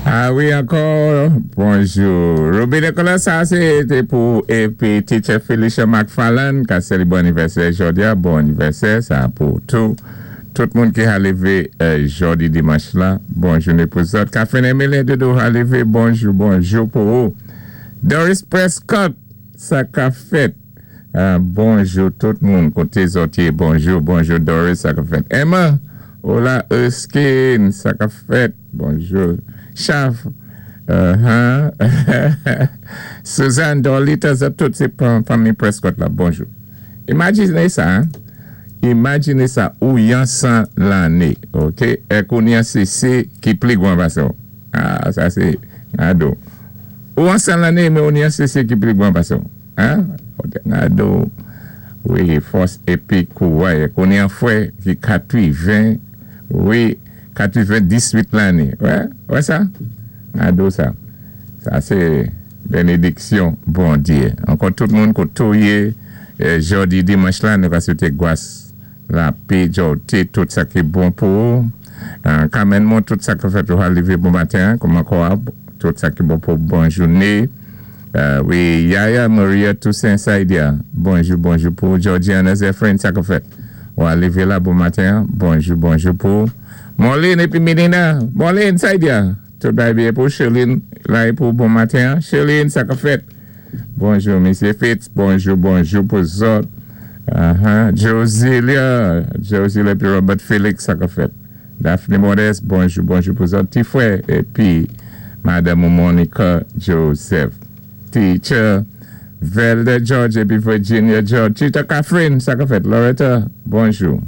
A wi, ankò, bonjou. Ruby Nicolas, sa sé té pou épi Teacher Felicia McFarland, ka sélébwé anivèsè jòdi-a. Bon anivèsè, sa pou tou. Tout moun ki ka lévé jòdi dimanch la, bon jouné pou zòt. Catherine Emile Doudou ka lévé, bonjou, bonjou pou ou. Doris Prescott, sa ka fèt? Bonjou tout moun, koté zòt yé? Bonjou, bonjou Doris, sa ka fèt? Emma, hola Erskine, sa ka fèt? Bonjou. Chaf, Suzanne, Dorlita, zòt tout sé fanmi Prescott la, bonjou. Imajiné sa, imajiné sa, ou yan 100 lanné, ok, èk ou ni an séké ki pli gwan pasé ou. Ah, sa sé gado. Ou an 100 lanné, men ou ni an séké ki pli gwan pasé ou. Hein? Gado. Wi, fòs épi kouray. Èk ou ni an fwè ki 80, wi, 98 lanné. Wè, wè sa? Gado sa. Sa sé bénédiksyon Bondyé. Ankò tout moun koté ou yé jòdi dimanch la, nou ka swété gwas, lapé, jòwté, tout sa ki bon pou ou. Carmen Mon, tout sa ka fèt ou ka lévé bon maten, kòman kò a, tout sa ki bon pou ou, bon jouné. Wi, Yaya Maria Toussaint Saidia, bonjou, bonjou pou ou. Georgiana Zephyrin, sa ka fèt? Ou a lévé la bon maten, bonjou, bonjou pou ou. Marlene épi Melina, Marlene Saidia, tout bagay byen pou ou. Sherline, la é pou ou bon maten. Sherline, sa ka fèt? Bonjou, Mesye Fitz, bonjou, bonjou pou zòt. Josilia, Josilia épi Robert Felix, sa ka fèt? Daphne Modeste, bonjou, bonjou pou zòt. Ti fwè épi Madanm ou Monica Joseph. Teacher Velda George épi Virginia George. Teacher Catherine, sa ka fèt? Loretta, bonjou.